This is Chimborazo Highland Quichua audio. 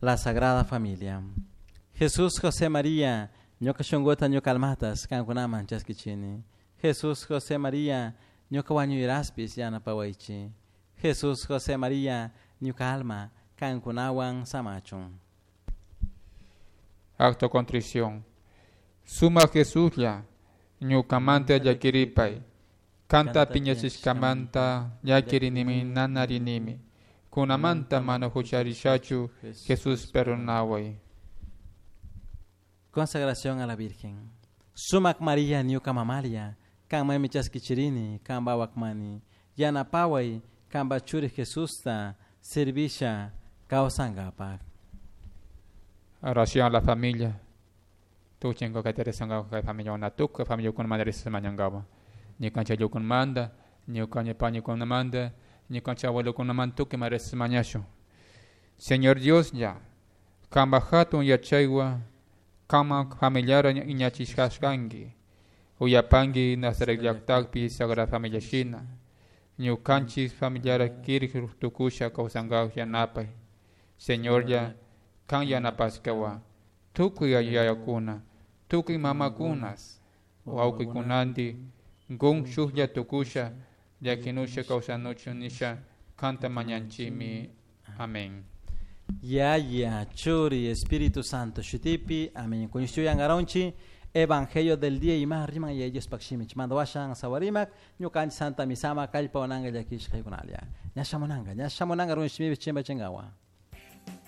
La Sagrada Familia. Jesús, José, María, ñuka shunkuta ñuka almatas kankunaman chaskichini. Jesús, José, María, ñuka wañuyraspis yanapawaychi. Jesús, José, María, ñuka alma kankunawan samachun. Acto contrición. Suma Jesuslla, ñukamanta llakiripay. Kanta piñachishkamanta llakirinimi nanarinimi. Kunamanta mana hucharishachu, Jesús perdonaway. Consagración a la Virgen. Sumac María ñuka mamalia, kanmanmi chaskichirini, kanpa wakmani. Yanapaway, kanpa churi Jesusta, servisha kawsankapak. Oración a la familia. Tuchingo kay teresanga kay familia una tuka familia kun madre mañangawa. Ñukanchik ayllukunamanta, ñukanchik pañikunamanta, ñukanchik abuelokunamanta tukuy mañashun. Señor Dios ya, kanpak hatun yachaywan kanman familiara iñachishkashkanki. Uyapanki Nazaret llaktapi Sagrada Familia shina. Ñukanchik familiara kirik tukusha kawsankapak yanapay. Señor ya, kan yanapashkawan tukuy yayakuna, tukuy mamakunas, wawqikunantin gun shuklla tukusha llakinusha kawsanuchun nisha kanta mañanchikmi. Amén. Yaya, Churi, Espíritu Santo, Shutipi, amén. Kuñishtuyan Evangelio del día y más riman y ellos pakshimich. Mando washan sawarimak, ñukanchik santa misama kallpa wananga llakishkaykunalia. Ñashamunanga, ñashamunanga runshimipi chimba chingawa.